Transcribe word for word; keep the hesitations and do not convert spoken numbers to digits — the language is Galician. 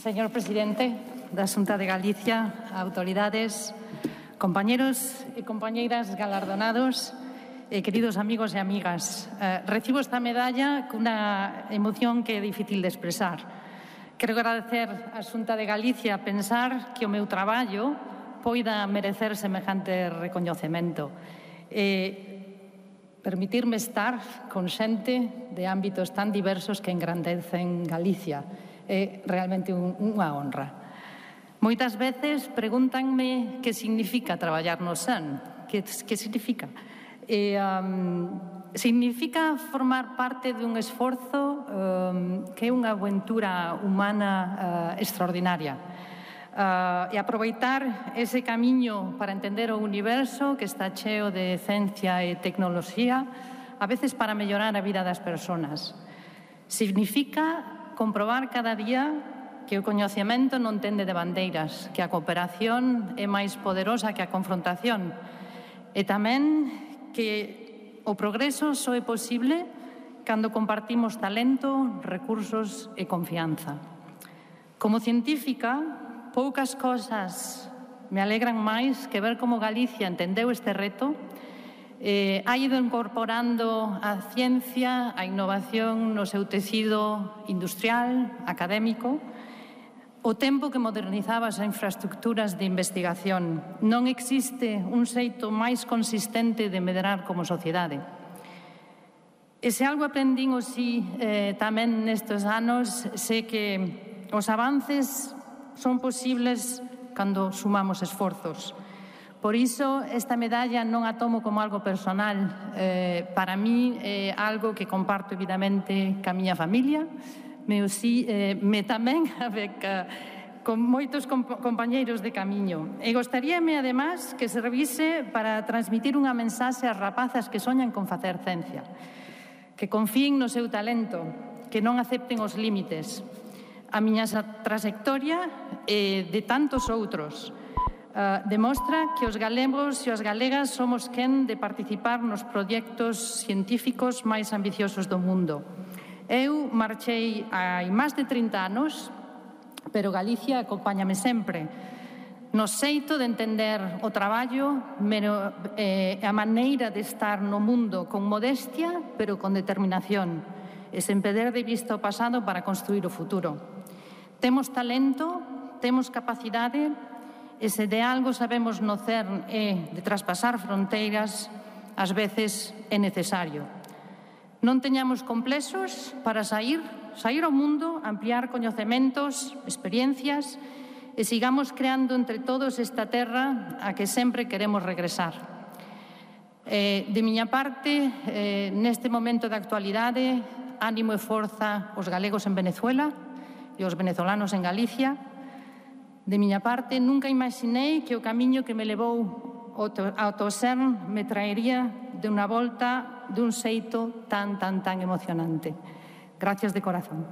Señor presidente da Xunta de Galicia, autoridades, compañeros e compañeiras galardonados, eh, queridos amigos e amigas, eh, recibo esta medalla cunha emoción que é difícil de expresar. Quero agradecer á Xunta de Galicia pensar que o meu traballo poida merecer semejante recoñecemento. E permitirme estar con xente de ámbitos tan diversos que engrandecen Galicia. É realmente un, unha honra. Moitas veces pregúntanme que significa traballar no S E N. Que, que significa? E, um, significa formar parte dun esforzo um, que é unha aventura humana uh, extraordinaria. Uh, e aproveitar ese camiño para entender o universo que está cheo de ciencia e tecnoloxía, a veces para mellorar a vida das persoas. Significa comprobar cada día que o coñecemento non tende de bandeiras, que a cooperación é máis poderosa que a confrontación e tamén que o progreso só é posible cando compartimos talento, recursos e confianza. Como científica, poucas cosas me alegran máis que ver como Galicia entendeu este reto, eh, ha ido incorporando a ciencia, a innovación no seu tecido industrial, académico, o tempo que modernizaba as infraestructuras de investigación. Non existe un xeito máis consistente de medrar como sociedade. E se algo aprendín o si eh, tamén nestes anos, sei que os avances son posibles cando sumamos esforzos. Por iso, esta medalla non a tomo como algo personal. Eh, para mí é algo que comparto evidamente ca miña familia, me, si, eh, me tamén beca, con moitos comp compañeiros de camiño. E gostaríame, además, que se revise para transmitir unha mensaxe ás rapazas que soñan con facer ciencia, que confíen no seu talento, que non acepten os límites. A miña trayectoria e de tantos outros Uh, demostra que os galegos e as galegas somos quen de participar nos proxectos científicos máis ambiciosos do mundo. Eu marchei hai máis de trinta anos, pero Galicia acompáñame sempre no xeito de entender o traballo, pero, eh, a maneira de estar no mundo con modestia, pero con determinación, e sen perder de vista o pasado para construir o futuro. Temos talento, temos capacidade, e se de algo sabemos no C E R N é de traspasar fronteiras, ás veces é necesario. Non teñamos complexos para sair, sair ao mundo, ampliar coñecementos, experiencias e sigamos creando entre todos esta terra a que sempre queremos regresar. Eh, de miña parte, eh, neste momento de actualidade, ánimo e forza os galegos en Venezuela e os venezolanos en Galicia. De miña parte, nunca imaginei que o camiño que me levou ao S E R N me traería de unha volta dun xeito tan, tan, tan emocionante. Gracias de corazón.